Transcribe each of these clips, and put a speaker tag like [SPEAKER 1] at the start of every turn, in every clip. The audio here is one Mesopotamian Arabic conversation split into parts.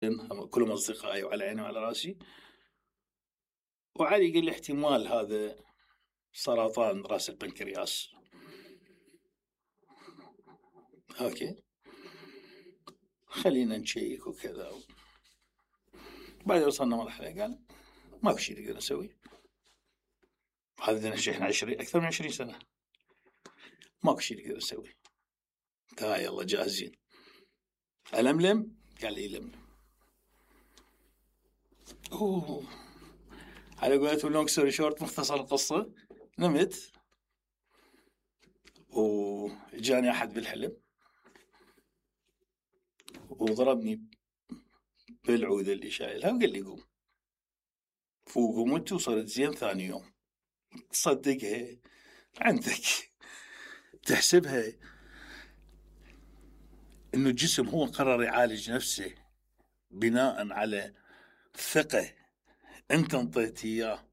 [SPEAKER 1] كلهم أصدقائي وعلى عيني وعلى راسي. وعلي قال لي احتمال هذا سرطان راس البنكرياس. اوكي خلينا نشيك وكذا. بعد وصلنا مرحلة قال ماكو شيء نقدر نسوي، هذا احنا أكثر من 20 سنة ماكو شيء نقدر نسوي، تعال يلا جاهزين. ألملم؟ قال لي لملم. على قولتهم لونج ستوري شورت، مختصر القصة، نمت وجاني أحد بالحلم وضربني بالعود اللي شايلها وقال لي قوم. وقمت وصرت زين ثاني يوم. تصدقها عندك تحسبها إنه الجسم هو قرر يعالج نفسه بناء على ثقة أنت انطيت إياه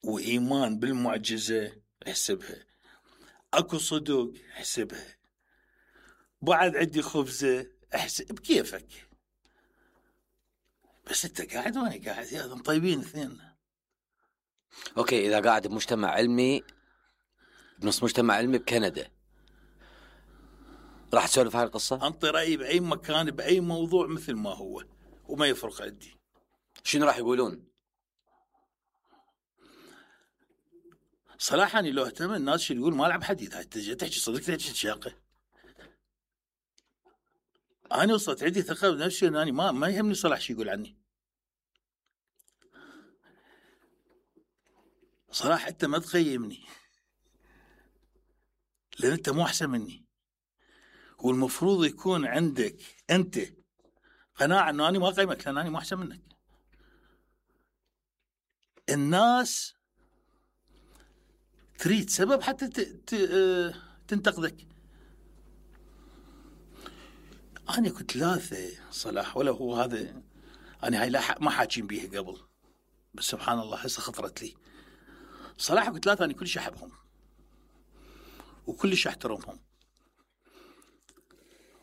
[SPEAKER 1] وإيمان بالمعجزة. احسبها أكو صدق، احسبها بعد عندي خبزة، احسب بكيفك. بس أنت قاعد وأنا قاعد، يا طيبين اثنين.
[SPEAKER 2] أوكي، إذا قاعد بمجتمع علمي، بنص مجتمع علمي بكندا، راح تسولف هاي القصة؟
[SPEAKER 1] أنطي رأيي بأي مكان بأي موضوع مثل ما هو وما يفرق عندي.
[SPEAKER 2] شنو راح يقولون؟
[SPEAKER 1] صراحة أنا لو اهتم الناس شو يقول ما لعب حديث. هاي تحكي صدق، تحكي شاقة. أنا وصلت عندي ثقة بنفسي أنني ما يهمني صلاح شو يقول عني. صراحة أنت ما تقيمني لأن أنت مو أحسن مني، والمفروض يكون عندك أنت قناعة أنه أنا ما قيمك لأن أنا مو أحسن منك. الناس تريد سبب حتى تنتقدك. أنا كنت ثلاثة صلاح، ولا هو هذا أنا هاي ما حاكين بيها قبل، بس سبحان الله هسه خطرت لي. صراحة كنت ثلاثة أنا كلش أحبهم وكلش أحترمهم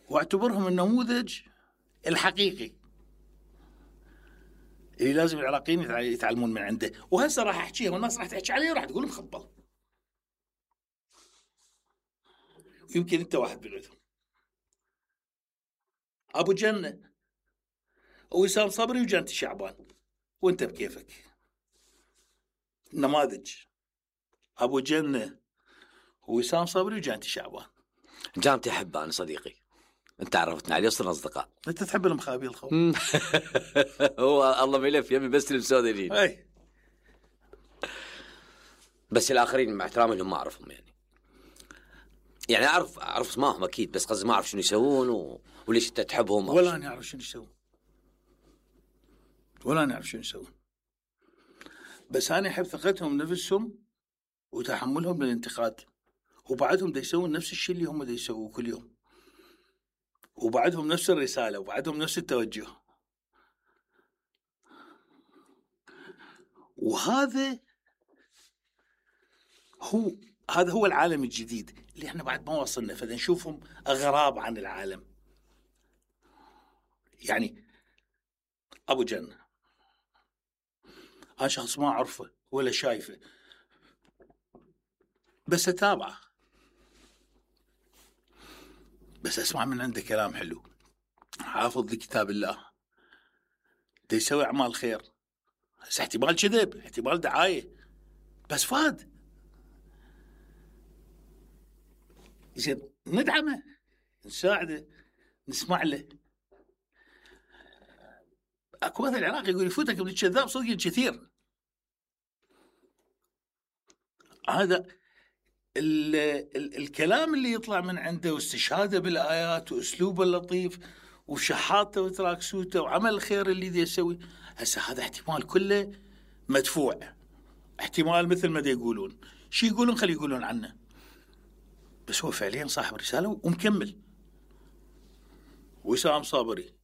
[SPEAKER 1] واعتبرهم النموذج الحقيقي اللي لازم العراقيين يتعلمون من عنده. وهسه راح أحكيها والناس راح تحكي عليه وراح تقول مخبل، ويمكن أنت واحد بينهم. أبو جنة ووسام صبري وجنتي شعبان، وأنت بكيفك. نماذج أبو جنة ووسام صبري وجنتي شعبان.
[SPEAKER 2] جامتي أحبه أنا صديقي، أنت عرفتنا عليه، صرنا أصدقاء.
[SPEAKER 1] أنت تحب المخابيل الخوف.
[SPEAKER 2] هو الله ملف يمي بس المسودين.
[SPEAKER 1] أي
[SPEAKER 2] بس الآخرين مع احترامي لهم ما أعرفهم، يعني أعرف اسمائهم أكيد، بس قصدي ما أعرف شنو يسوون وليش أنت تحبهم.
[SPEAKER 1] ولا أنا أعرف شنو يسوون، ولا أنا أعرف شنو يسوون، بس أنا أحب ثقتهم نفسهم وتحملهم للانتقاد، وبعدهم دا يسوون نفس الشيء اللي هم دا يسووه كل يوم، وبعدهم نفس الرسالة، وبعدهم نفس التوجه. وهذا هو العالم الجديد اللي احنا بعد ما وصلنا، فدا نشوفهم أغراب عن العالم. يعني أبو جنة أنا شخص ما أعرفه ولا شايفه، بس أتابعه، بس أسمع من عنده كلام حلو، حافظ لكتاب الله، دا يسوي أعمال خير. بس احتمال كذب، احتمال دعاية، بس فاد زين ندعمه، نساعده، نسمع له. اكو مثل العراقي يقول يفوتك من الكذاب صدق كثير. هذا الكلام اللي يطلع من عنده واستشهاده بالآيات وأسلوبه اللطيف وشحاته وتراكسوته وعمل الخير اللي ذي يسوي، هسه هذا احتمال كله مدفوع، احتمال مثل ما دي يقولون شي يقولون خلي يقولون عنه، بس هو فعليا صاحب رسالة ومكمل. وسام صابري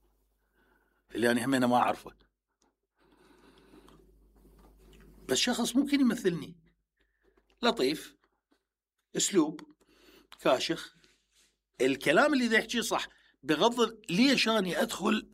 [SPEAKER 1] اللي أنا همينه ما أعرفه، بس شخص ممكن يمثلني، لطيف، أسلوب كاشخ، الكلام اللي ذا يحكيه صح، بغض ليش أنا أدخل